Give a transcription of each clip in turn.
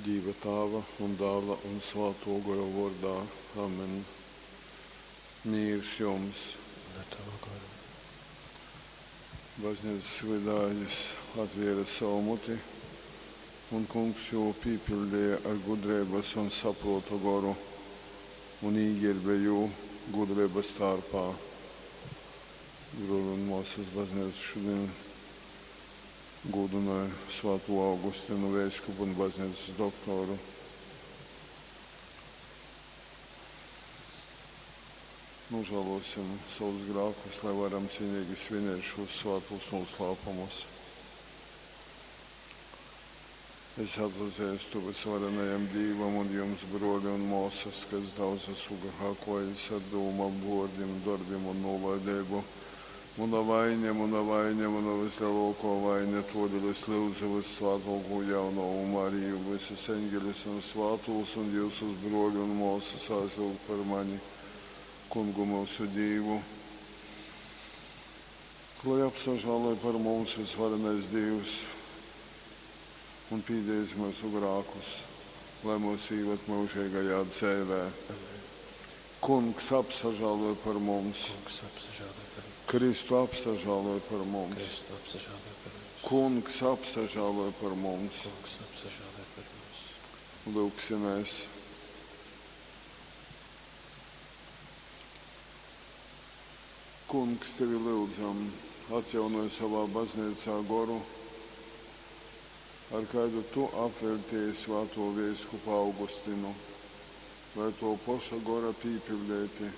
Dīva Tāva un Dāla un Svātō Gora vōrdā. Amen. Mīrs jums! Un ar tavu goru. Baznīcas vydā jys atvēre savu muti, un Kungs jū pīpiļdeja ar gudreibas un saprōta goru un īgērbe jū gudreibas tārpā. Brōli un mōsas, baznīca šodien gūdynoj Svātū Augustinu, veiskupu un baznīcas doktoru. Nožēlosim savus grēkus, lai varam cienīgi svinēt šos svētos noslēpumus. Es atzīstu visvarenajam Dīvam un jums, broļi un māsas, ka es daudz esmu grēkojis ar domām, vārdiem, darbiem un nolaidību. Mana vaina, mana vaina, mana vislielākā vaina, todēļ es lūdzu vissvētāko jaunavu Mariju, visus eņģeļus un svētos un jūsus broļu un māsas aizlūgt par mani, kungu mūsu Dievu. Lai apsažāloj par mums visvarenais Dievs un pīdēs mūsu grēkus, lai mūs īved mūžīgajā dzīvē. Amen. Kungs apsažāloj par mums, Kungs apsažāloj par mums. Kristu apsažāloj par mums, Kristu apsažāloj par mums. Kungs apsažāloj par mums. Kungs apsažāloj par mums. Lūksimies! Kungs, tevi lūdzam, atjaunoj savā baznīcā goru, ar kādu tu apveltīji svēto veiskupu Augustinu, lai to paša gora pīpildēti,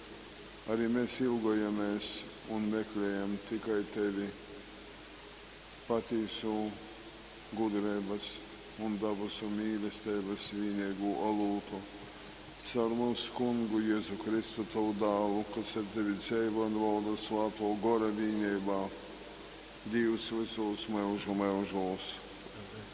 arī mēs ilgojamies un meklējam tikai tevi, patīso gudrības un dabasu mīlestības vienīgo olūtu. Caur mūsu kungu Jēzu Kristu, tavu dālu, kas ar tevi dzīvo un valda svāto gora vienībā, Dievs visos mūžu mūžos. Amen.